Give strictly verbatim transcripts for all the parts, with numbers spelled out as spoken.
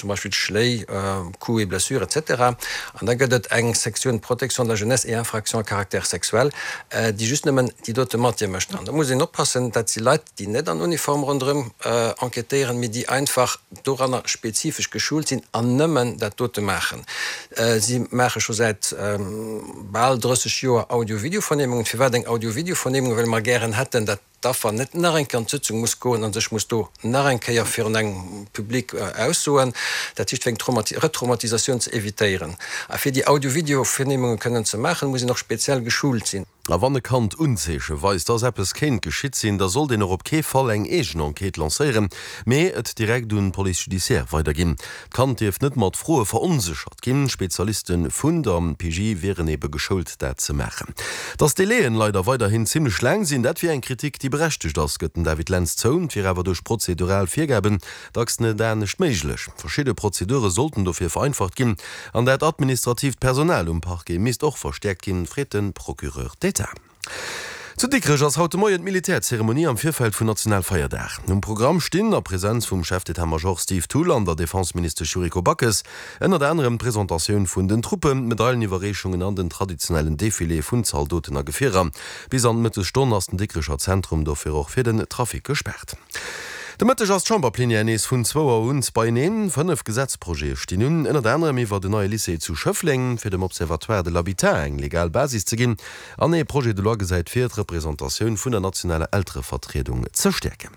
zum Beispill Schléi, Coups et blessures, etc. An da gëtt et eng Sektioun Protection de la jeunesse et infractions à caractère sexuel, déi just nëmmen déi dote Matière mécht. An da muss een oppassen, dat si Leit, déi net an Uniform ronderëm enquêtéieren, mee déi einfach doranner spezifesch geschult sinn an nëmmen dat dote maachen. Si maache scho säit bal drësseg Joer Audio-Video-Vernehmungen. Firwat eng Audio-Video-Vernehmung? Well mer gären hätten, dat d'Affer net nach eng Kéier an d'Sëtzung muss goen a sech muss do nach eng Kéier virun engem Public aussoen, dat heescht fir eng Retraumatisatioun ze evitéieren. A fir déi Audio-Video-Vernehmunge kënnen ze maachen, muss een och speziell geschult sinn. A wann e Kand Unzeeche weist, dass eppes kéint geschitt sinn, da sollt een och op kee Fall eng eegen Enquête lancéieren, mee et direkt un d'Police judiciaire weiderginn. D'Kand dierf net mat Froe veronséchert ginn. Spezialiste vun der P J wieren ebe geschoult, dat ze maachen. Dass d'Délai'en leider weiderhin zimmlech laang sinn, dat wier eng Kritik, déi berechtegt ass, gëtt den David Lentz zou. Et wier awer duerch prozedural Virgaben dacks net anescht méiglech. Verschidde Prozedure sollten dofir vereinfacht ginn an dat administratiivt Personal um Parquet misst och verstäerkt ginn, freet de Procureur d'État. Zu Dikrech ass haut de Moien d'Militärzeremonie am Virfeld vun Nationalfeierdag. Um Programm stinn, a Presenz vum Chef d'état-major Steve Thull an der Defenseministesch Yuriko Backes, ënnert anerem d'Presentatioun vun den Truppen, d'Medaileniwwerreechungen an den traditionellen Defilé vun Zaldoten a Gefierer. Bis an d'Mëttesstonn ass den Dikrecher Zentrum dofir och fir den Trafic gespaart. De Mëtteg ass d'Chamberplenière nees vun zwou Auer un beieneen. Fënnef Gesetzprojete stinn un, ënnert anerem iwwer den neie Lycée zu Schëffleng, fir dem Observatoire de l'habitat eng legal Basis ze ginn, an ee Projet de loi gesäit vir, d'Representatioun vun der nationaler Elterevertriedung ze stäerken.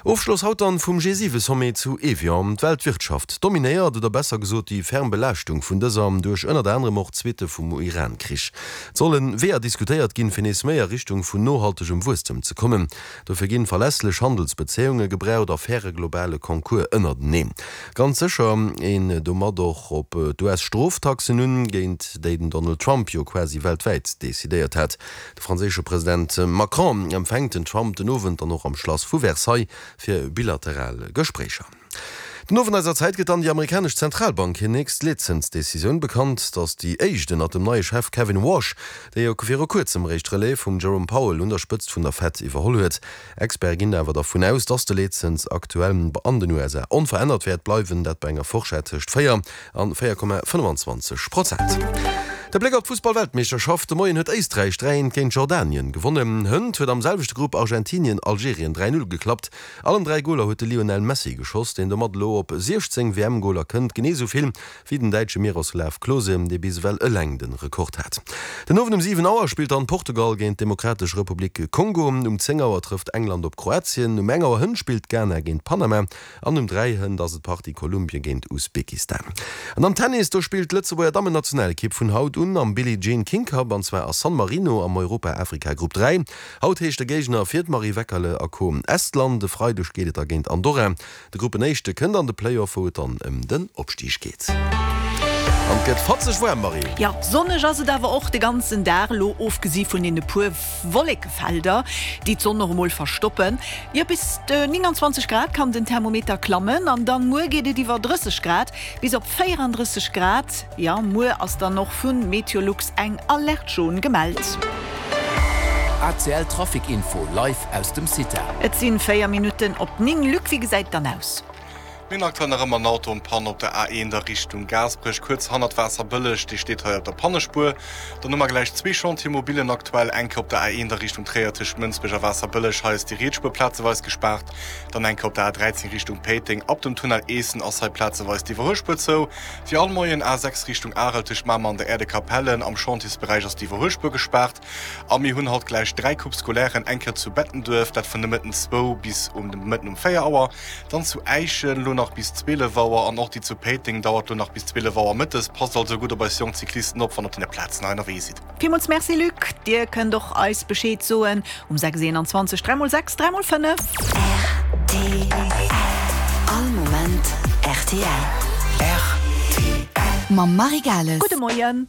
Ofschloss haut dann vum G siwe Sommet zu Evian. D'Weltwirtschaft dominéiert, oder besser gesot déi ferm Belaaschtung vun dëser duerch ënnert anerem och d'Suitte vum Iran-Krich. Et solle Weeër diskutéiert ginn, fir nees méi a Richtung vun nohaltegem Wuesstem ze kommen. Dofir ginn verlässlech Handelsbezéiunge gebraucht a faire globale Concours ënnerteneen. Ganz sécher een domat och op d'U S-Stroftaxen un, géint déi den Donald Trump jo quasi weltwäit decidéiert hat. De franséische President Macron empfänkt den Trump den Owend dann och am Schlass vu Versailles fir bilateral Gespréicher. Den Owend eiser Zäit gëtt dann déi amerikanesch Zentralbank hir nächst Leetzënsdecisioun bekannt. Et ass déi éischt ënnert dem neie Chef Kevin Warsh, dee jo viru kuerzem réischt d'Relève vum Jerome Powell un der Spëtzt vun der Fed iwwerholl huet. Experte ginn awer dervun aus, dass de Leetzëns aktuell an den U S A onverännert wäert bleiwen, dat bei enger Fourchette tëscht véier an véier Komma fënnfanzwanzeg Prozent. De Bléck op d'Fussballweltmeeschterschaft, De Moien huet Éisträich dräi eent géint Jordanien gewonnen. Hënt huet am selwechte Grupp Argentinien Algerien dräi null geklappt. Allen dräi Goler huet de Lionel Messi geschoss, deen domat elo op siechzéng W M-Goler kënnt, genee esou vill wéi den däitsche Miroslav Klose, dee bis ewell eleng de Rekord hat. Den Owend um siwen Auer spillt dann Portugal géint d'Demokratesch Republik Kongo. Um zéng Auer trëfft England op Kroatien. Um eng Auer hënt spillt Ghana géint Panama an um dräi hënt ass et d'Partie Kolumbien géint Usbekistan. An am Tennis, do spillt d'Lëtzebuerger Dammennationalekipp vun haut un am Billie Jean King Cup an zwar a San Marino am Europa-Afrika Grupp dräi. Haut heescht de Géigner fir d'Marie Weckerle a Co. Estland, e Freideg geet et da géint Andorra. De Gruppenéischte kënnt an de Playoff, wou et dann ëm den Opstig geet. An et gëtt fatzeg waarm, Marie. Jo, sonneg ass et awer och de ganzen Dag elo, ofgesi vun deene puer Wollekefelder, déi d'Sonn och emol verstoppen. Jo, bis nénganzwanzeg Grad kann den Thermometer klammen an dann muer geet et iwwer drësseg Grad, bis op véierandrësseg Grad. Jo, muer ass dann och vu Meteolux eng Alerte jaune gemellt. A C L Trafic Info live aus dem Cita. Et sinn véier Minutten op néng. Luc, wéi gesäit et dann aus? Mir hunn aktuell nach ëmmer en Auto en panne op der A eent a Richtung Gaasperech, kuerz hannert Waasserbëlleg. Dee steet hei op der Pannespuer. Dann hu mer gläich zwee Chantier-mobillen aktuell, eng Kéier op der A eent a Richtung Tréier tëscht Mënsbech a Waasserbëlleg, hei ass déi riets Spuer plazeweis gespaart. Dann eng Kéier op der A dräizéng Richtung Péiteng, ab dem Tunnel Eessen ass hei plazeweis d'Iwwerhuelspuer zou. Wéi all Moien A sechs Richtung Arel tëscht Mamer an der Aire de Capellen, am Chantiersberäich ass d'Iwwerhuelspuer gespaart. A mir hunn haut gläich dräi Coupes scolairen, eng Kéier zu Bettenduerf, dat vun de Mëtten zwou bis um de Mëtten um véier Auer, dann zu Äischen elo nach bis zwielef Auer an och déi zu Péiteng dauert elo nach bis zwielef Auer mëttes. Passt also gutt op eis jonk Cyclisten op, wann der op deene Plazen hei ënnerwee sidd. Villmools Merci Luc. Dir kënnt och eis Bescheed soen um sechs eenanzwanzeg dräi mol sechs dräi mol fënnef. R T L. All Moment R T L. R T L. Mam Marie Gales. Gudde Moien.